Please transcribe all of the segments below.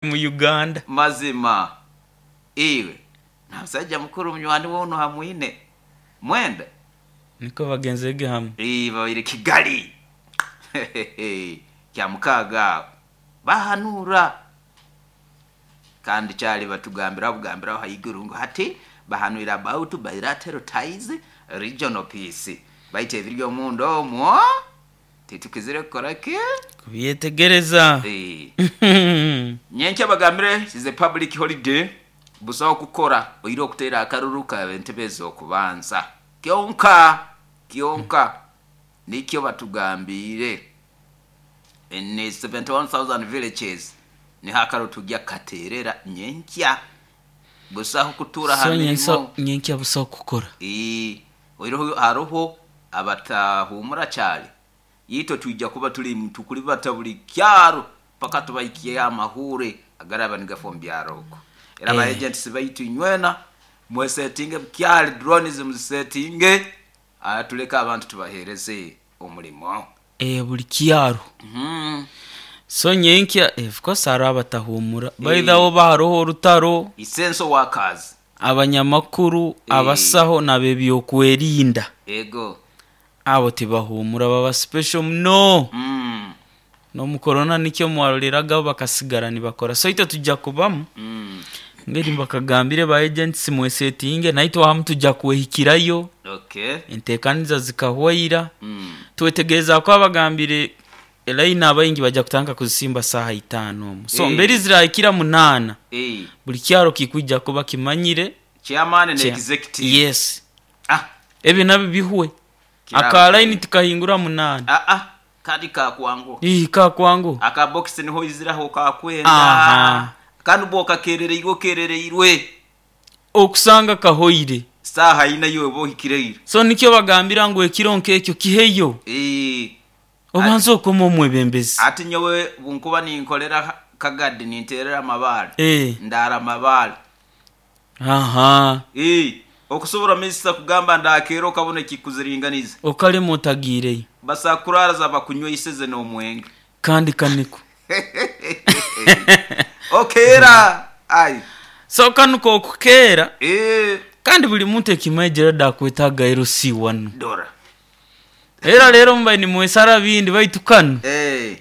Mu Uganda. Mazima iwe na musajja mukuru munywani woonu hamwine mwenda. Niko bagenzege hamwe. Babaire Kigali Kyamukaaga aho bahanura kandi kyali batugambiraho bugambiraho haiguru ngu hati bahanuire about bilateral ties, regional peace, baitu ebiri omunda omwo titukizire kukora ki? Kubyetegereza. Nyenkya bagambire is a public holiday, busaho kukora oire okuteera akaruru ka entebe ez'okubanza kyonka kyonka nikyo batugambiire. In 71,000 villages niho akaruru tujya kukateerera nyenkya, busaho kutuura ha So mirimo. Nyenkya busaho kukora. Oihireho haroho abatahuumura kyali, itwe twija kuba tuli tukulibata buli kyaro paka tubahikyeho amahuure agaraba nigafa omu byaro okwo. Era ba agents baitu inywena mwesetinge bukyali, drones muzisetinge, tuleke abantu tubaheereze omulimo. Buli kyaro. So nyenkya, of course haroho abatahuumura. By the way oba haroho orutaro, Essential workers. Abanyamakuru, abasaho n'ab'ebyokwerinda. Ego. Abo tibahuumura baba special muno. N'omu korona nikyo mwaroreraga bakasigara nibakora. So itwe tujja kubamu ngeri mbakagambire ba agents mwesetinge naitwe ahamu tujja kwehikirayo. Enteekaniza zikahwaira. Twetegereza kuba bagambire elaini abaingi baija kutandika kuzisimba saaha itaano omwo. So mberi zirahikira munaana, buli kyaro kikwija kuba kimanyire. Chairman na executive. Yes. Ebyo nabyo bihwe. Aka line tikahingura munaana. Kandi kakwanguha. Kakwanguha. Aka box niho oiziraho okakwenda. Kandi oba okakerereirwe okerereirwe. Okusanga kahoire. Saaha ina iwe oba ohikire ira. So nikyo bagambira ngu ekiro nk'ekyo kiheyo. Obanze okome omwebembezi. Ati nyowe bunkuba ninkorera Kagadi ninterera amabaale, ndaara amabaale. Okusobora minisita kugamba ndakeera okabona ekikuziringaniza. Okalema otagiireyo. Basobola kukuraaraza bakunyweiseze n'omwenge. Kandi kaniko. Okeera ai. So kanu k'okukeera. Kandi buli muntu ekimaijire da akwetaaga LC wanu. Dora. Era leero mubaire nimwesara bindi baitu kanu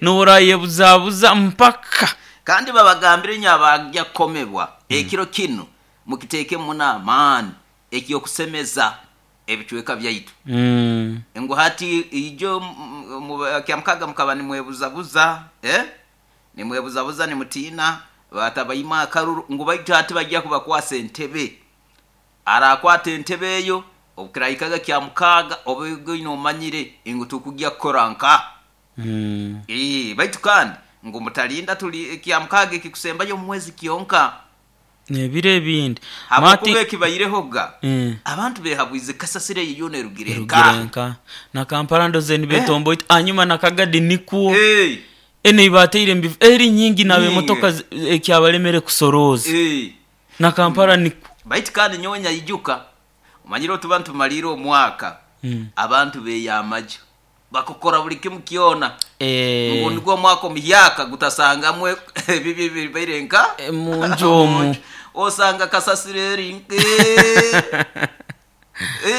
n'orayebuzabuza mpaka. Kandi babagambire inywe abagya kukomebwa, ekiro kinu mukiteekemu muno amaani eky'okusemeza ebicweka byaitu. Ngu hati ijo Kyamukaaga mukaba nimwebuzabuza, nimwebuzabuza nimutiina batabaima akaruru, ngu baitu hati bagya kubakwasa entebe. Arakwata entebe eyo obukirahikaga Kyamukaaga obe oine omanyire ngu tukugya kukora nka. Baitu kandi ngu mutalinda tuli Kyamukaaga ekikusembayo omu mwezi kyonka. N'ebiro ebindi. Habwokuba ekibairehoga, abantu behabwize kasasiro eyo yoona erugire nka. Erugire nka. Na Kampala ndoze nibetomboita hanyuma na Kagadi nikwo. Enu ei baataire omu bifo eri nyingi naaba emotoka ekyabalemere kusorooza. Na Kampala nikwo. Baitu kandi nyowe nyaijuka, omanyire obu tuba nitumaliire omwaka, abantu beeyamagye. Bakukora buli kimu kyona ngu nigwo omwaka omuhyaka gutasangamu ebibi ebibaire nka Munju omu. Osanga kasasiro eri nke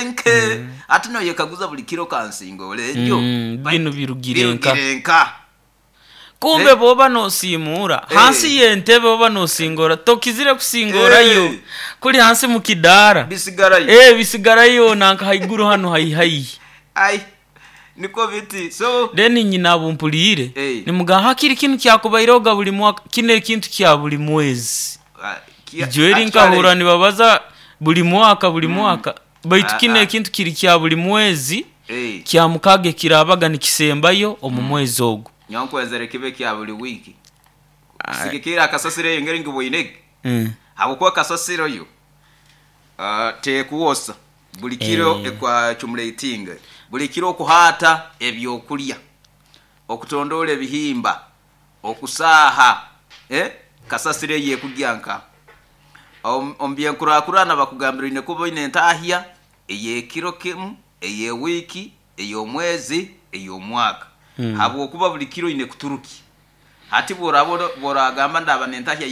nke hati noyekaguza buli kiro kansingora egyo. Binu birugire nka. Birugire nka. Kumbe bw'oba noosiimuura hansi y'entebe oba noosingora tokizire kusingorayo kuri hansi mu kidaara. Bisigarayo. Bisigarayo nanka haiguru hanu haihi haihi. Ai nikwo biti so. Then nyine abu mpuliire nimugamba hakiri kinu kyakubairehoga buli mwaka kinu ekintu kya buli mwezi. Ijo eri nkahurra nibabaza buli mwaka buli mwaka baitu kinu ekintu kiri kya buli mwezi Kyamukaaga ekiraabaga nikisembayo omu mwezi ogwo. Nyowe nkwenzere kibe kya buli wiiki. Kusigikirra kasasiro eyo engeri ngiboinege, habwokuba kasasiro yo tekwosa buli kiro ekwacumulatinga, buli kiro okuhaata ebyokulya, okutondoora ebihimba, okusaaha, kasasiro eyo ekugya nka. Omu byenkurakurana bakugambira oine kuba oine entahya ey'ekiro kimu, ey'ewiiki, ey'omwezi, ey'omwaka. Habwokuba buli kiro oine kuturukya. Hati bworaba bworagamba ndaba nentahya.